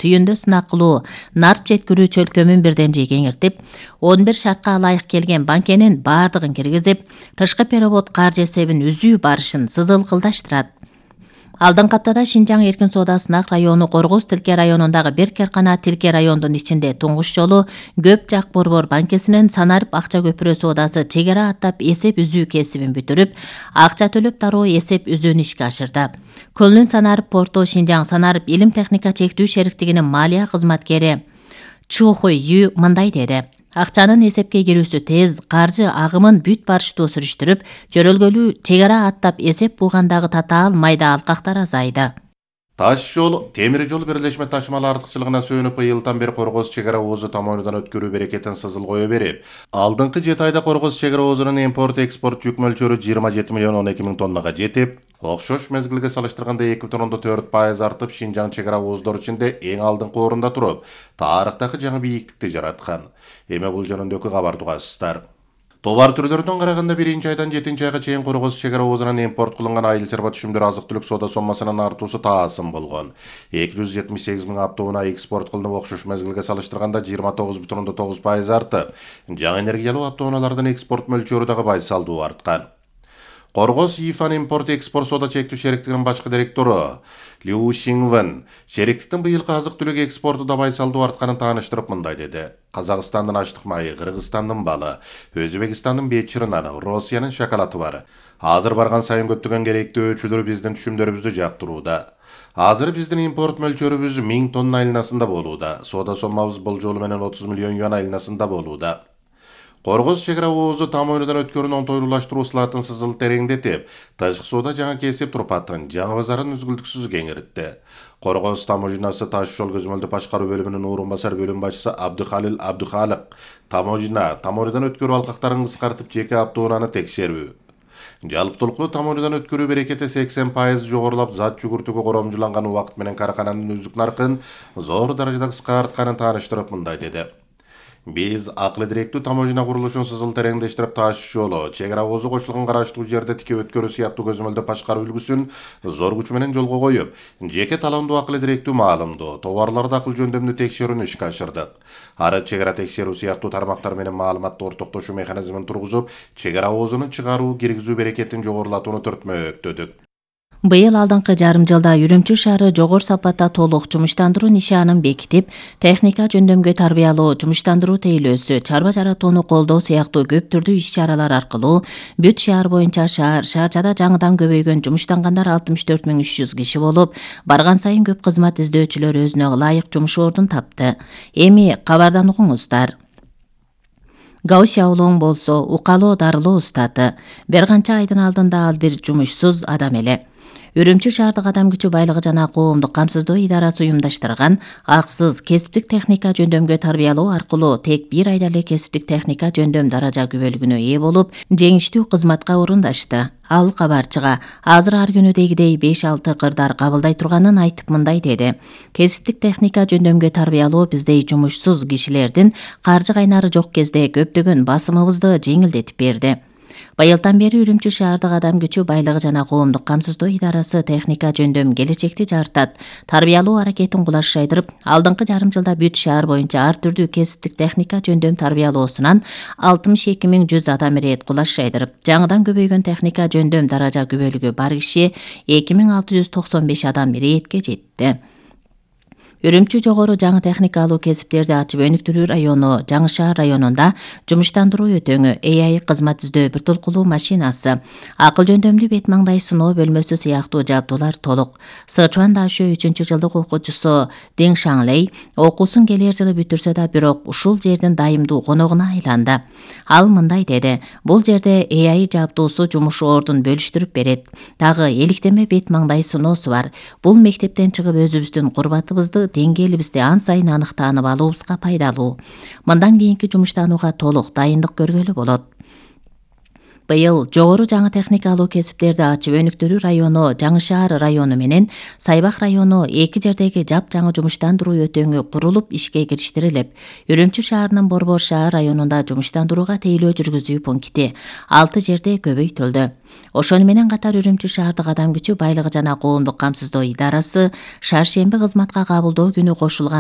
түйүндө сынак кылуу, нарп жеткирүү чөлкөмүн бирдемжи кеңиртип, 11 шартка ылайык келген банкенин бардыгын киргизип, тышкы перевод каржы эсебин үзүү барышын сызылкылдаштырат. Алдыңкы аптада Шинжаң эркин соода сынак району Коргоз Тилке районундагы бир Керкана Тилке райондун ичинде туңгуш жолу көп жак борбор банкесинин санарып акча көпүрө соодасы чек ара аттап эсеп үзүү кесибин бүтүрүп, акча төлөп дароо эсеп үзүүнү ишке ашырды. Көлүн Санарып порту Шинжаң Санарып илим техника чектүү шериктигинин малия кызматкери Чухой Ю мындай деди. Акчанын эсепке кирүүсү тез, каржы агымын бүт барыштуу сүрүштүрүп, жөрөлгөлүү чек ара аттап эсеп булгандагы татаал майда алкактар азайды. Таш жол, темир жол бирлешме ташымалы артыкчылыгына сөөнүп, быйылдан бери Коргоз чек ара оозу тамоонудан өткөрүү берекетин сызыл кое берип, алдыңкы 7 айда Коргоз чек ара оозунун импорт-экспорт жүк мөлчөрү 27 миллион 12 миң тоннага жетип, окшош мезгилге салыштырганда 2,4% артып, Шинжаң чек ара ооздор ичинде эң алдыңкы орунда туруп, тарыхтагы жаңы бийиктикти жараткан. Эми бул жөнүндөгү кабарды угасыздар. Товар түрлөрүнөн караганда 1-айдан 7-айга чейин Коргоз чек ара оозунан импорт кылынган айыл чарба түшүмдөр азык-түлүк соода соммасынын артуусу таасым болгон. 278 миң аптоунаа экспорт кылынып, окшош мезгилге салыштырганда 29,9% артып, жаңы энергиялуу аптоунаалардын экспорт мөлчөрү дагы байсалдуу арткан. Коргоз ИФАн импорт-экспорт соода чектүү шериктигинин башкы директору Лю Шинвен шериктиктин быйылкы азык-түлүк экспорту да байсалдуу артканын тааныштырып мындай деди. Казакстандын ачтык майы, Кыргызстандын балы, Өзбекстандын бечири наны, Россиянын шоколаты бар. Азыр барган сайын көптөгөн керектүү өчүлөр биздин түшүмдөрүбүздү жактырууда. Азыр биздин импорт мөлчөрүбүз 1000 тонна айланасында болууда. Соода соммабыз болжолу менен 30 миллион юан айланасында болууда. Коргоз чек ара оозу тамоонудан өткөрүүнү оңтойлуулаштыруу ысылатын сызыл тереңдетип, тышкы соода жаңы кесип турпатын, жаңы базарын үзгүлтүксүз кеңиртти. Коргоз таможнасы таш жол көзөмөлдү башкаруу бөлүмүнүн орун басар бөлүм башчысы Абдыхалил Абдыхалык тамоонудан өткөрүү алкактарын кыскартып, жеке аптоунаны текшерүү. Жалптуулуктуу тамоонудан өткөрүү берекети 80% жогорулап, зат жүгүртүүгө коромжуланган убакыт менен каракананын үздүк наркын зор даражада кыскартканын тааныштырып мындай деди. Биз акылы директүү таможня курулушун сызыл тереңдештирип, таш жолу, чек ара оозу кошулган караштуу жерде тике өткөрүү сыяктуу көзөмөлдү башкаруу үлгүсүн зор күч менен жолго коюп, жеке талондуу акылы директүү маалымдоо, товарларды акыл жөндөмдүү текшерүүнү ишке ашырдык. Ары чек ара текшерүү сыяктуу тармактар менен маалыматты ортоктошуу механизмин тургузуп, чек ара оозунун чыгаруу, киргизүү берекетин жогорулатууну түртмөктөдүк. Быйыл алдыңкы жарым жылда Үрүмчү шаары жогору сапатта толук жумуштандыруу нишанын бекитип, техника жөндөмгө тарбиялоо, жумуштандыруу тейлөөсү, чарба жаратууну колдоо сыяктуу көп түрдүү иш-чаралар аркылуу бүт шаар боюнча шаарчада жаңыдан көбөйгөн жумуштангандар 64.300 киши болуп, барган сайын көп кызмат издөөчүлөр өзүнө ылайык жумуш ордун тапты. Эми кабардан угуңуздар. Гаусяулоң болсо укалоо дарылоо устаты. Бир канча айдын алдында ал бир жумушсуз адам эле. Үрүмчү шаардык адам күчү байлыгы жана коомдук камсыздоо идарасы уюмдаштырган аксыз кесиптик техника жөндөмгө тарбиялоо аркылуу тек 1 айда эле кесиптик техника жөндөм даража күбөлүгүнө ээ болуп, жеңиштүү кызматка орундашты. Ал кабарчыга азыр ар күнүдегидей 5-6 кырдар кабылдай турганын айтып мындай деди. Кесиптик техника жөндөмгө тарбиялоо биздей жумушсуз кишилердин каржы кайнары жок кезде көптөгөн басымыбызды жеңилдетип берди. Быйылдан бери Үрүмчү шаардык адам күчү байлыгы жана коомдук камсыздоо идарасы техника жөндөм келечекти жартат. Тарбиялоо аракетин кулаш жайдырып, алдыңкы жарым жылда бүт шаар боюнча ар түрдүү кесиптик техника жөндөм тарбиялоосунан 62.100 адам ирет кулаш жайдырып, жаңыдан көбөйгөн техника жөндөм даража күбөлүгү бар киши 2695 адам иретке жетти. Үрүмчү жогору жаңы техникалуу кесиптерди ачып өнүктүрүү району Жаңы шаар районунда жумуштандыруу өтөңү, AI кызмат издөө бир толкулуу машинасы, акыл жөндөмдүү бет маңдай сыноо бөлмөсү сыяктуу жабдуулар толук. Сычуан Дашө 3-жылдык окуучусу Дин Шанлей окуусун келер жылы бүтүрсө да, бирок ушул жердин дайымдуу коногуна айланды. Ал мындай деди: бул жерде AI жабдуусу жумуш ордун бөлүштүрүп берет. Дагы эликтеме бет маңдай сыноосу бар. Бул мектептен чыгып өзүбүздүн курбатыбызды, деңгээлибизди ан сайын аныктанып алуубузга пайдалуу. Мындан кийинки жумуштанууга толук дайындык көргөлү болот. Быйыл жогору жаңы техникалуу кесиптерди ачып өнүктүрүү району, Жаңы Шаар району менен Сайбак району эки жердеги жапжаңы жумуштандыруу өтөңү курулуп ишке кириштирилип, Үрүмчү шаарынын Борбор шаар районунда жумуштандырууга тейлөө жүргүзүү пункти 6 жерде көбөйтүлдү. Ошону менен катар Үрүмчү шаардык адам күчү байлыгы жана коомдук камсыздоо идарасы шаршемби кызматка кабылдоо күнү кошулган